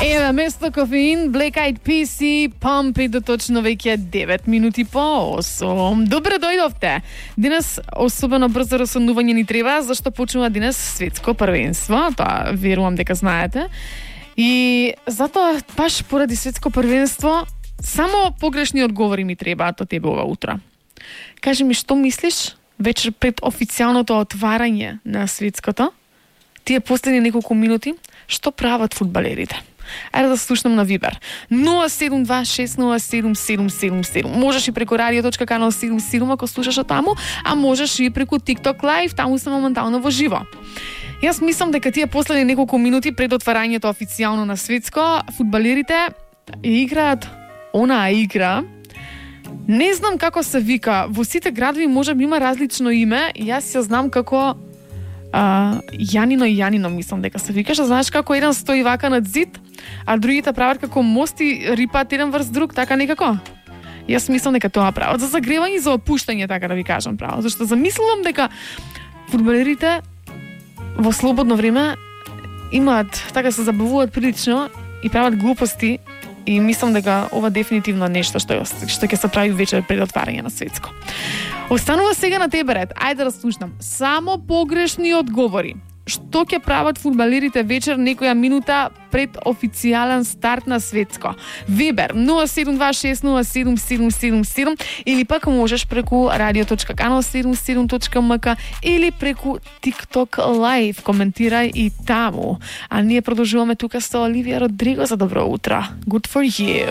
Еве, место кофеин, Black Eyed Peas и Pump It, точно веќе 9 минути по 8. Добре дојдовте. Денес особено брзо расонување ни треба, зашто почнува денес светско првенство, тоа верувам дека знаете. И затоа баш поради светско првенство само погрешни одговори ми требаат од тебе ова утро. Кажи ми, што мислиш вечер пред официјалното отварање на светското? Тие последни неколку минути, што прават фудбалерите? Ајде да слушнам на Вибер. 072607777. Можеш и преку radio.канал 77 ако слушаш од таму, а можеш и преку TikTok Live, таму сме моментално во живо. Јас мислам дека тие последни неколку минути пред отварањето официјално на светско, фудбалерите играат онаа игра. Не знам како се вика, во сите градови можеби има различно име, јас ја знам како Јанино, мислам дека се викаш, знаеш како еден стои вака над зид, а другите прават како мост и рипаат еден врз друг, така некако. Јас мислам дека тоа прават за загревање и за опуштање, така да ви кажам право, зашто замислувам дека фудбалерите во слободно време имаат, така се забавуваат прилично и прават глупости. И мислам дека ова дефинитивно нешто што ќе се прави вечер пред отварање на светско. Останува сега на тебе ред. Ајде да слушнам. Само погрешни одговори. Што ќе прават фудбалерите вечер некоја минута пред официјален старт на светско? Вибер 072607777 или пак можеш преку radio.канал 77.mk или преку TikTok Live. Коментирај и таму. А ние продолжуваме тука со Оливија Родриго за добро утро. Good for you.